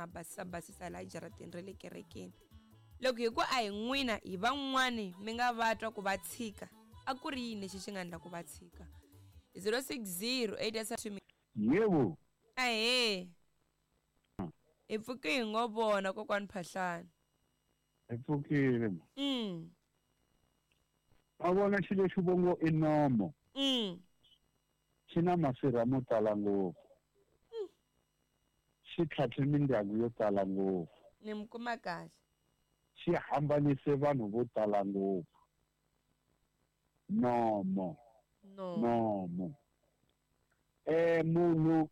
ha basisa basisa laha jarateni ra le kerekeni. Loko hi ku a hi n'wina hi van'wani mi nga va twa ku va tshika, a ku ri yini lexi xi nga endla ku va tshika? 060 8 Yebo. Ahee. Hi pfuke hi ngo vona kokwani Phahlane. Hi pfukile. Ma vona xilo lexi vo ngo i nomo. Xi na masirha mo tala ngopfu. Xi tlhatlhe mindyangu yo tala ngopfu. Ni mi kuma kahle. Xi hambanise vanhu vo tala ngopfu. Nomo. Nomo. Munhu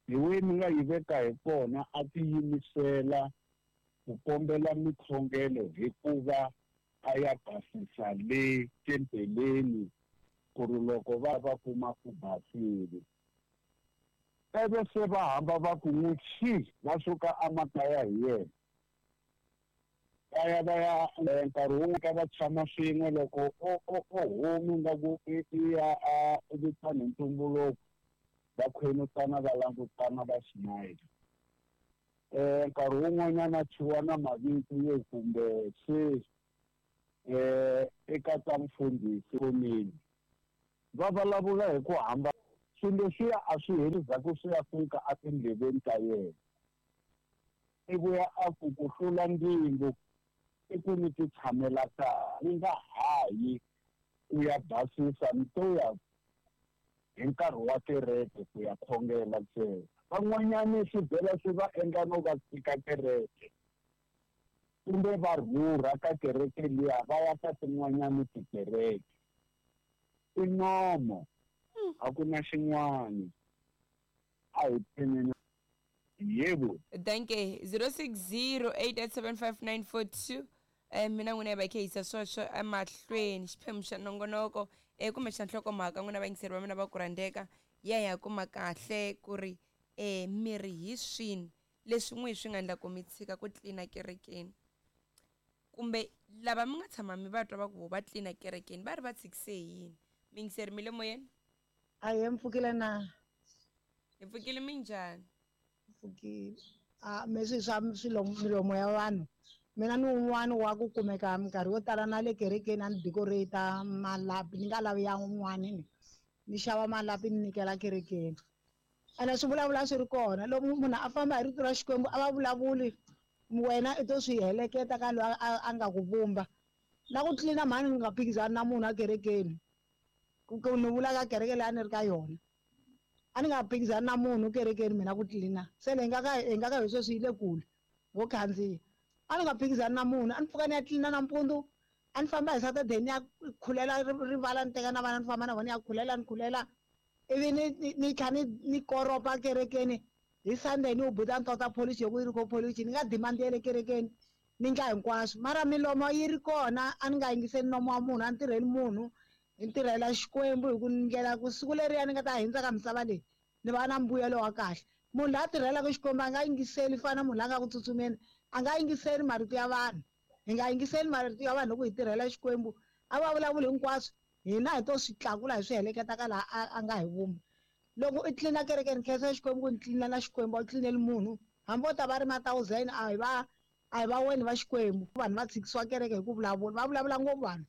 hi we mi nga yi veka hi kona a tiyimisela ku kombela mikhongelo hikuva a ya basisa le tempeleni ku ri loko va va kuma ku basile. Ivi se va hamba va ku n'wi xi va suka emakaya hi yena. Va ya va ya nkarhi wun'we ka va tshama swin'we loko o humi nga ku i ya a vitana hi ntumbuluko va khwenutana va langutana va smile. Nkarhi wun'wanyana a thyiwa na mavito yo kumbe se eka ta mfundhisi komeni. Va vulavula hi ku hambana swilo leswiya a swi heli ndzhaku swi ya fika etindleveni ta yena. I vuya a ku ku hlula ndzingo i ku ni ti tshamela kaya ni nga hayi ku ya basisa ni to ya hi nkarhi wa kereke ku ya khongela ntsena. Van'wanyani swi vhela swi va endla no va tshika kereke kumbe va rhurha ka kereke liya va ya ka tin'wanyani tikereke. I nomo a ku na xin'wani. A hi pfuneni. Yebo. Danke. 0608875942. Mina n'wina hi va khe yisa sweswo emahlweni xiphemu xa nongonoko kumbe xa nhlokomhaka n'wina vayingiseri va mina va ku rhandzeka ya ya kuma kahle ku ri miri hi swini leswi n'wi swi nga endla ku mi tshika ku tlina kerekeni kumbe lava mi nga tshama mi va twa va ku vo va tlina kerekeni va ri va tshikise hi yini. Miyingiseri mi le moyeni? Ahee, mi pfukile na? Hi pfukile, minjhani? Pfukile. A me swi swa swilo milomo ya vanhu. Mina ni wun'wani wa ku kumeka minkarhi yo tala na le kerekeni a ni decorate malapi ni nga lavi ya un'wani ni ni xava malapi ni nyikela kerekeni. Ene swi vulavula swi ri kona loko munhu a famba hi rito ra Xikwembu a va vulavuli wena i to swi heleketa ka loyi a nga ku vumba. Na ku tlilina mhani ni nga phikizani na munhu a kerekeni. Ku ni vula ka kereke leyi a ni ri ka yona. A ni nga phikizani na munhu kerekeni mina ku tlilina. Se leyi nga ka hi nga ka hi sweswi yi le kule ngo khandziya. A ni nga phikizani na munhu, a ni pfuka ni ya tlilina nampundzu, a ni famba hi Saturday ni ya khulela rivala ni teka na vana ni famba na vona ni ya khulela ni khulela ivi ni ni tlha ni ni koropa kerekeni hi Sunday ni wu buta ni tota polish yo ku yi ri ko polish ni nga demand ya le kerekeni ni ndla hinkwaswo mara milomo yi ri kona a ni nga yingiseli nomo wa munhu a ni tirheli munhu hi ntirhela Xikwembu hi ku ndlela ku siku leriya ni nga ta hundza ka misava leyi ni va na mbuyelo wa kahle. Munhu loyi a tirhelaka Xikwembu a nga yingiseli fana na munhu loyi a nga ku tsutsumeni a nga yingiseli marito ya vanhu. Hi nga yingiseli marito ya vanhu loko hi tirhela Xikwembu a va vulavuli hinkwaswo hina hi to swi tlakula hi swi heleketa ka laha a nga hi vumba. Loko i tlilina kerekeni khensa Xikwembu ku ni tlilina na Xikwembu a wu tlilineli munhu hambi vo ta va ri ma thousand a hi va a hi va weni va Xikwembu. Vanhu va tshikisiwa kereke hi ku vulavula va vulavula ngopfu vanhu.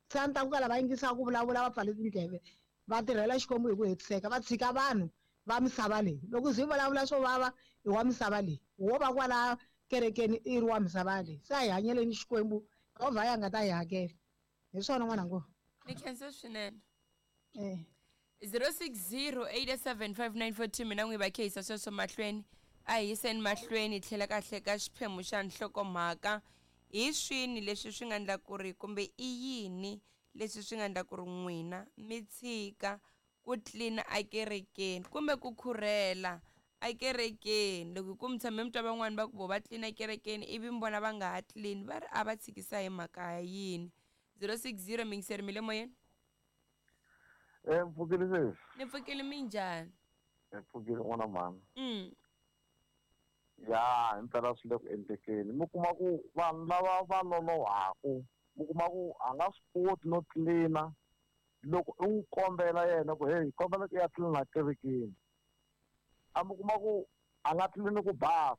Se a ni ta ku ka lava yingisaka ku vulavula va pfale tindleve va tirhela Xikwembu hi ku hetiseka va tshika vanhu va misava leyi. Loko zi vulavula swo vava i wa misava leyi wo va kwala kerekeni i ri wa misava leyi. Se a hi hanyeleni Xikwembu Yehovha ya nga ta hi hakela. Hi swona n'wana ngo. Ni khensa swinene. 0608875942 mina n'wi va khehisa sweswo mahlweni a hi yiseni mahlweni tlhela kahle ka xiphemu xa nhlokomhaka hi swini leswi swi nga endla ku ri kumbe i yini leswi swi nga endla ku ri n'wina mi tshika ku tlina ekerekeni kumbe ku khurhela ekerekeni. Loko hi ku mi tshame mi twa van'wani va ku vo va tlina ekerekeni ivi mi vona va nga ha tlini va ri a va tshikisa hi mhaka ya yini. 060 mingiseri mi le moyeni? Mpfukile sesi. Ni pfukile, minjhani? Mpfukile n'wana mhani. Ya himpela swi le ku endlekeni. Mi kuma ku vanhu lava va lolohaku mi kuma ku a nga swi koti no tlilina loko u n'wi kombela yena ku hey kombela ku ya tlilina kerekeni a mi kuma ku a nga tlilini ku basa.